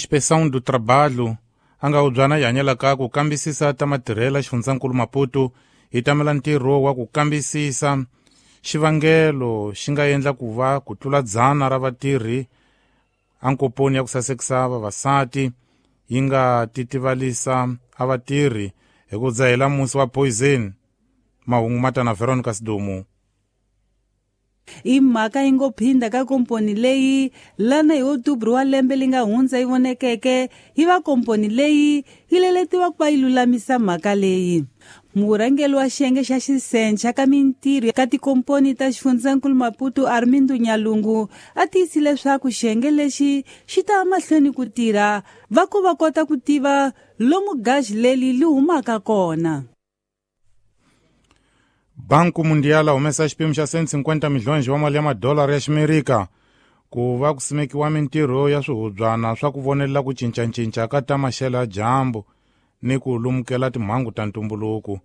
Inspeção do Trabalho a nga hubyana yi hanyelaka ku kambisisa ta matirhelo xifundzankulu Maputo yi tamela ntirho wa ku kambisisa xivangelo xi nga endla ku va ku tlula 100 ra vatirhi ankoponi ya ku sasekisa vavasati yi nga titivalisa a vatirhi hi ku dzahela musi wa poison. Mahungu ma ta na Veronica Sidumu. I mhaka yi ngo phinda ka komponi leyi lana hi Outubro wa lembe li nga hundza yi vonekeke yi va komponi leyi yi leletiwa ku va yi lulamisa mhaka leyi. Murhangeri wa xiyenge xa xisencha ka mintirho ka tikomponi ta xifundzankulu Maputo Armindo Nyalungu a tiyisile leswaku xiyenge lexi xi ta mahlweni ku tirha va ku va kota ku tiva lomu gaji leli li humaka kona. Banku Mundial humesa xipimo xa 150 milhonji wa mali ya madolara ya Ximerika ku va ku simekiwa mintirho ya swihubyana swa ku vonelela ku cincacinca ka ta maxelo ya dyambu ni ku lumukela timhangu ta ntumbuluko.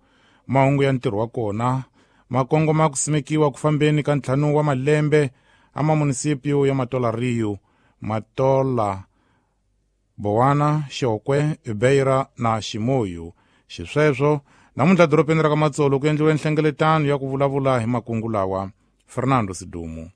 Mahungu ya ntirho wa kona ma kongoma ku simekiwa ku fambeni ka 5 wa malembe a mamunisipio ya Matola Rio, Matola, Bowana, Xokwe, Beira na Ximoyu. Xisweswo namuntlha dorobeni ra ka Matsolo ku endliwe nhlengeletano ya ku vulavula hi makungu lawa. Fernando Sidumu.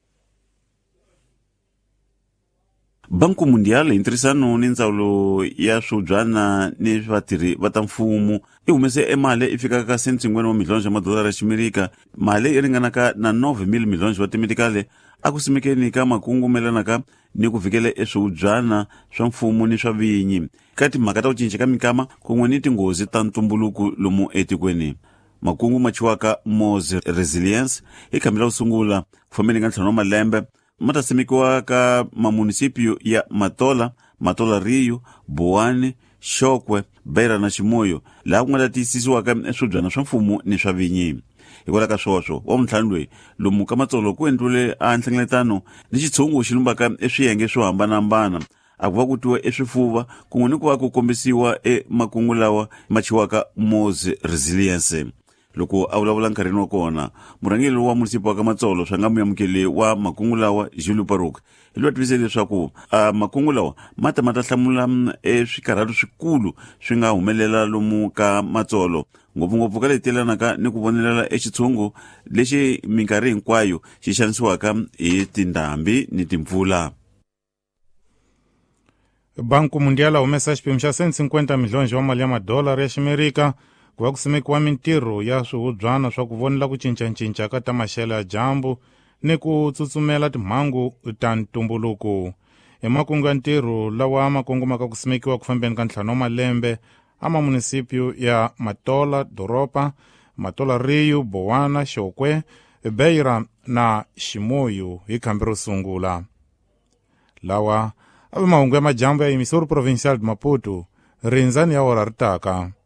Banku Mundial hi ntirhisano ni ndzawulo ya swihubyana ni vatirhi va ta mfumo i humese emali i fikaka ka 150 wa milhonji ya madolara ya Ximerika, mali yi ringanaka na 9,000 milhonji wa timedikale a ku simekeni ka makungu melanaka ni ku vikela eswihubyana swa mfumo ni swa vinyi ka timhaka ta ku cinca ka minkama kun'we ni tinghozi ta ntumbuluko lomu etikweni. Makungu ma chiwaka Moz Resilience hi khambi la ku sungula ku fambeni ka 5 wa malembe ma ta simekiwa ka mamunisipio ya Matola, Matola Rio, Boane, Xokwe, Beira na Ximoyo, laha ku nga ta tiyisisiwaka swibyana swa mfumo ni swa vinyi. Hikwalaho ka swoswo, wa vuntlhanu loyi lomu ka Matsolo ku endliwile a nhlengeletano ni xitshungu xi lumbaka eswiyenge swo hambanahambana, a ku va ku twiwa eswifuva kun'we ni ku va ku kombisiwa emakungu lawa ma chiwaka Moz Resilience. Loko a vulavula nkarhini wa kona, murhangeri wa munisipa wa ka Matsolo swa nga muyamukeli wa makungu lawa Julio Paruk hi loyi a tivise leswaku makungu lawa ma ta ma ta hlamula eswikarhalo swikulu swi nga humelela lomu ka Matsolo, ngopfungopfu ka leti yelanaka ni ku vonelela exitshungu lexi minkarhi hinkwayo xi xanisiwaka hi tindhambi ni timpfula. Banku Mundial humesa xipimo xa 150 milhonji wa mali ya madolara ya Ximerika ku va ku simekiwa mintirho ya swihubyana swa ku vonela ku cincacinca ka ta maxelo ya dyambu ni ku tsutsumela timhangu ta ntumbuluko. Hi makungu ya ntirho lawa ma kongomaka ku simekiwa ku fambeni ka 5 wa malembe a mamunisipio ya Matola Doropa, Matola Rio, Bowana, Xokwe, Beira na Ximoyu hi khambi ro sungula. Lawa a ve mahungu ya majambu ya Emissora Provincial de Maputo, rindzani ya ora ri taka.